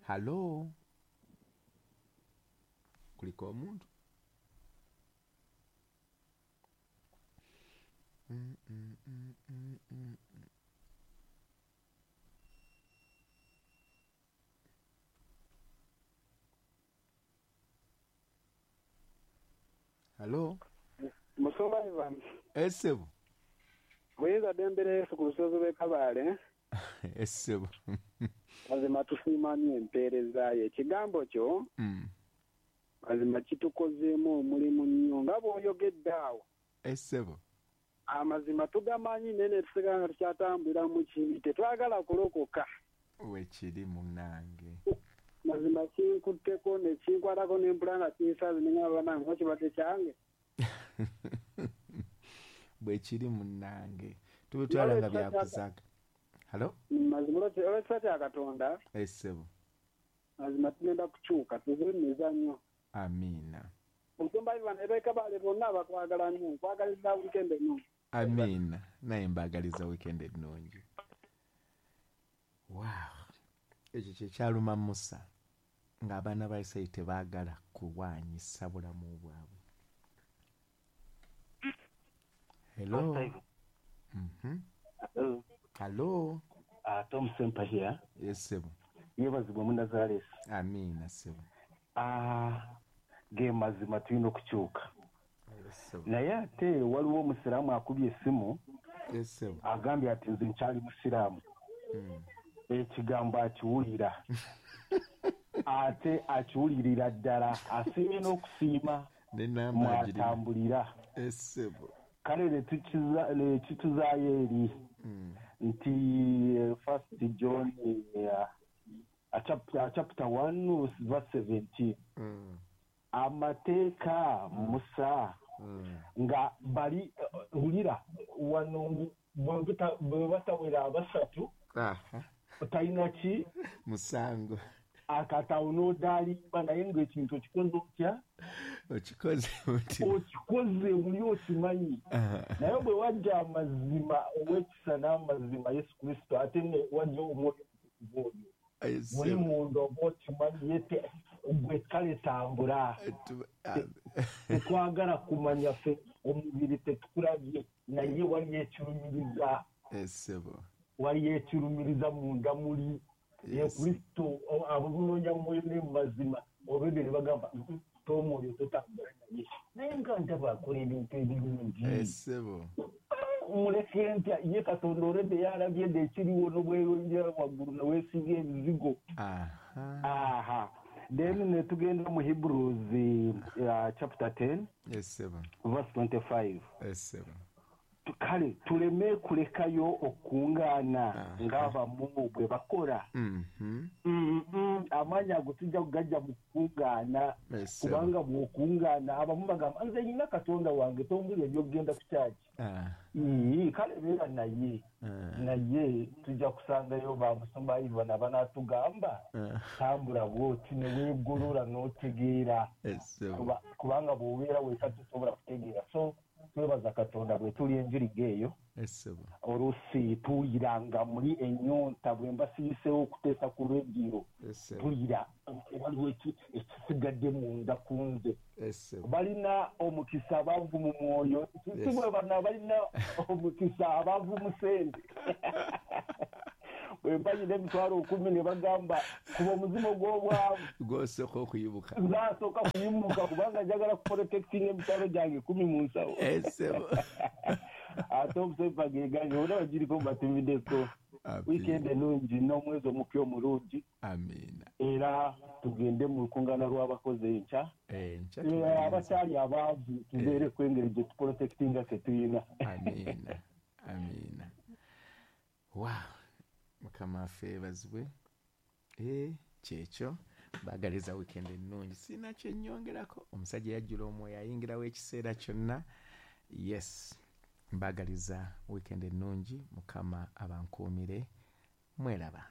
Halo, kuliko omuntu? Halo. Musumba Ivan. Esebo. Muyinza ddembe Yesu ku lusozi lw'e Kabale. Esebo. Mazima tusiima nnyo empeereza yo. Ekigambo kyo mazima kitukozeemu omulimu nnyo nga bw'oyogedde awo. Esebo. Amazima tugamanyi naye ne tusigala nga tukyatambulira mu kibi, tetwagala kulokoka. Wekiri munnange. Mazima kinkutteko ne kinkwatako ne mpula nga kinsaze ne ngamba bannange oba kibadde kyange. Bwekiri munnange. Tubitwala nga byakusaka. Halo? Mazima olw'ekisa kya Katonda. Esebo. Mazima tugenda kukyuka tuve mu mizannyo. Amiina. Omusumba Ivan ab'e Kabale bonna abakwagala nnyo, nkwagaliza weekend ennungi. Amiina. Naye mbaagaliza weekend ennungi. Wow. Ekyo kye kyaluma Musa ng'abaana ba Isirayiri tebaagala kulwanyisa bulamu bwabwe. Hello. Hello. Hello. Tom Sempa here. Yes, sebo. Yeebazibwe Munazaresi. Amiina, sebo. Ge mazima tulina okukyuka. Yes, sebo. Naye ate waliwo omusiraamu akubye essimu. Yes, sebo. Agambye ati nze nkyali musiraamu. Ekigambo akiwulira. Ate akiwulirira ddala, asiimye n'okusiima mwatambulira. Yes, sebo. Kale ne kituzaayo eri nti First John chapter 1 verse 17. Amateeka Musa nga bali wulira wano bwe batawera abasatu talina ki musango akatawo n'odaalimba, naye ng'ekintu okikoze otya? Okikoze mutima. Okikoze muli okimanyi. Naye bwe wajja amazima ow'ekisa n'amazima Yesu Kristo, ate ne wajja omwoyo omutukuvu oyo muli munda oba okimanyi, ye gwe kale tambula. Tetwagala kumanya ffe omubiri tetukulabye, naye waliyo ekirumiriza. Waliyo ekirumiriza munda muli. Ye Kristo abunoonya mwoyo ne mu mazima, olwedde ne bagamba tomwoyo totambula naye. Naye nga ndaba akola ebintu ebirungi. Muleke ntya ye Katonda olwedde yalabye dda ekiriwo n'obweyongera waggulu ne weesiga ebizigo. Aha. Then ne tugenda mu Hebrews chapter 10. Yes, verse 25. Yes, kale tuleme kulekayo okungaana ng'abamu bwe bakola. Amaanyi ago tujja kugajja mu kukungaana, kubanga bw'okungaana abamu bagamba nze nina Katonda wange tombulira eby'okugenda ku kyaki. Kale beera naye, naye tujja kusangayo ba musumba Ivan abanaatugamba tambula bw'oti ne weegolola n'otegeera, kubanga bw'obeera weka tosobola kutegeera. So twebaza Katonda bwe tuli enjiriga eyo. Oluusi tuwuliranga muli ennyonta bwe mba siyiseewo okuteesa ku rediyo, tuwulira waliwo ekisigadde munda ku nze. Balina omukisa abaavu mu mwoyo, si bwe bano balina omukisa abaavu mu ssente. Bwe mba nyina 10,000 ne bagamba kuba omuzimu gw'obwavu gw'osooka okuyimuka. Nzasooka kuyimuka kubanga njagala kuprotectinga emitwalo gyange 10 mu nsawo. Ate omusepa gegange bona bagiriko mbatumiddeko. Weekend ennungi n'omwezi omupya omulungi. Amiina. Era tugende mu lukungaana lw'abakozi enkya. Abakyali abaavu tubeereko engeri gye tuprotectinga tetuyina. Amiina. Amiina. Wow. Mukama affe yeebazibwe. Kyekyo baagaliza weekend ennungi. Sirina kye nnyongerako. Omusajja yajjula omwoyo ayingirawo ekiseera kyonna. Yes, mbaagaliza weekend ennungi. Mukama abankuumire. Mweraba.